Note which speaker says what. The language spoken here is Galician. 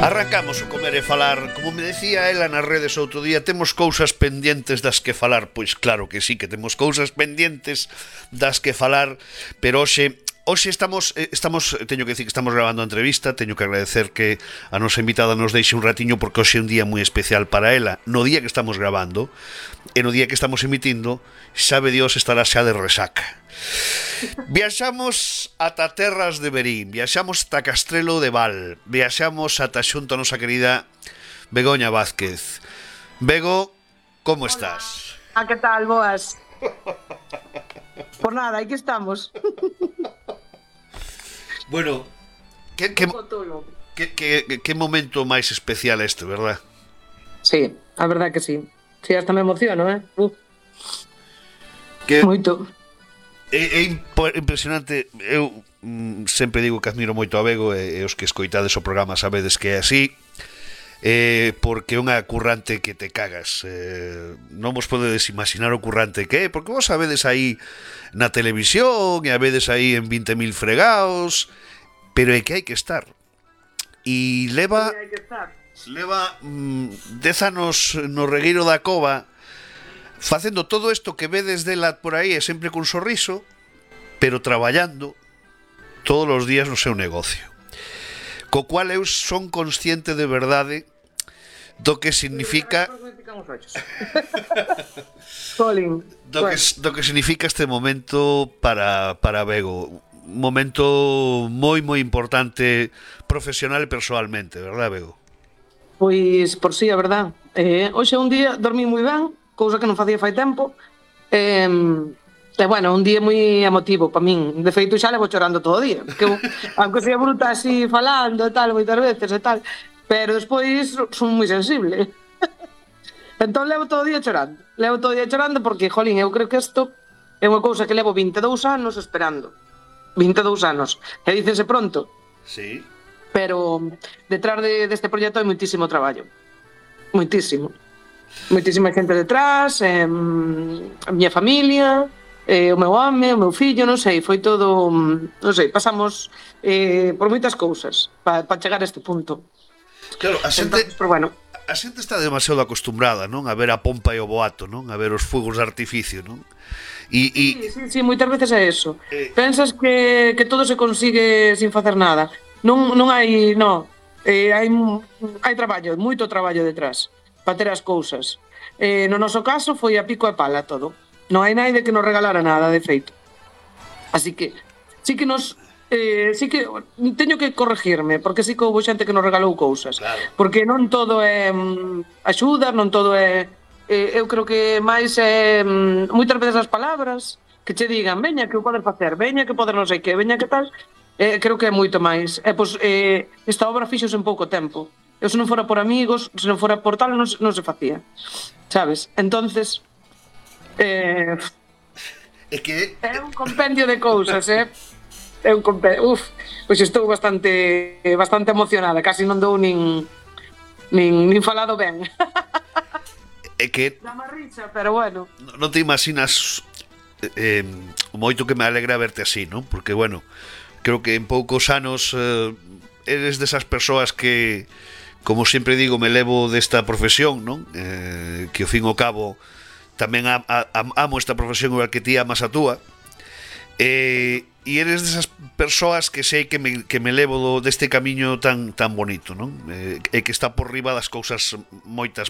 Speaker 1: Arrancamos o comer e falar. Como me decía ela nas redes outro día, temos cousas pendientes das que falar. Pois claro que sí, que temos cousas pendientes das que falar. Pero hoxe estamos, teño que decir que estamos grabando a entrevista. Teño que agradecer que a nosa invitada nos deixe un ratiño, porque hoxe é un día moi especial para ela. No día que estamos grabando e no día que estamos emitindo, sabe Dios, estará xa de resaca. Viaxamos ata terras de Verín, viaxamos ata Castrelo de Val, viaxamos ata xunto a nosa querida Begoña Vázquez. Bego, como estás?
Speaker 2: Que tal, boas? Por nada, aquí estamos.
Speaker 1: Bueno, que momento máis especial este, verdad?
Speaker 2: Sí, a verdad que sí. Sí, hasta me emociono, Moito.
Speaker 1: É impresionante. Eu sempre digo que admiro moito a Bego, e os que escoitades o programa sabedes que é así, porque é unha currante que te cagas. Non vos podedes imaginar o currante que é, porque vos sabedes aí na televisión e a vedes aí en 20.000 fregaos, pero é que hai que estar. E leva 10 anos no regueiro da Cova facendo todo isto que vedes dela por aí, e sempre cun sorriso, pero traballando todos os días no seu negocio, co cual eu son consciente de verdade do que significa do que significa este momento para Bego. Un momento moi importante profesional e personalmente, verdad, Bego?
Speaker 2: Pois, por si, a verdad. Hoxe un día dormí moi ben, cousa que non facía fai tempo. Bueno, un día moi emotivo para min. De feito, xa levo chorando todo o día, que eu, aunque sea bruta así falando e tal, moitas veces e tal, pero despois son moi sensible. Entón levo todo o día chorando. Levo todo o día chorando porque, jolín, eu creo que isto é unha cousa que levo 22 anos esperando. 22 anos. E dícense pronto.
Speaker 1: Sí.
Speaker 2: Pero detrás deste proxecto hai moitísimo traballo. Moitísimo. Moitísima xente detrás, a miña familia, o meu home, o meu fillo, non sei, foi todo, non sei, pasamos por moitas cousas para chegar a este punto.
Speaker 1: Claro, a xente, entonces, pero bueno, a xente está demasiado acostumbrada, non, a ver a pompa e o boato, non, a ver os fuegos de artificio, non?
Speaker 2: Sí, moitas veces é eso. Pensas que todo se consigue sin facer nada. Non hai, hai traballo, moito traballo detrás para ter as cousas. No noso caso foi a pico e pala todo. Non hai naide que nos regalara nada, de feito. Así que sí que teño que corregirme, porque sí que houve xente que nos regalou cousas.
Speaker 1: Claro.
Speaker 2: Porque non todo é axuda, non todo é... eu creo que máis é moitas veces as palabras que che digan, veña que o podes facer, veña que podes non sei que, veña que tal. Creo que é moito máis. Esta obra fixose en pouco tempo. Eu se non fora por amigos, se non fora por tal, non se facía, sabes? Entonces é un compendio de cousas, é un compendio. Pois estou bastante emocionada, casi non dou nin falado ben.
Speaker 1: É que
Speaker 2: dá má risa, pero bueno,
Speaker 1: non te imaginas o moito que me alegra verte así, non? Porque, bueno, creo que en poucos anos eres desas persoas que, como sempre digo, me levo desta profesión, non? Que ao fin e ao cabo tamén amo esta profesión igual que ti amas a túa, e eres desas persoas que sei que me levo deste camiño tan bonito, non? E que está por riba das cousas moitas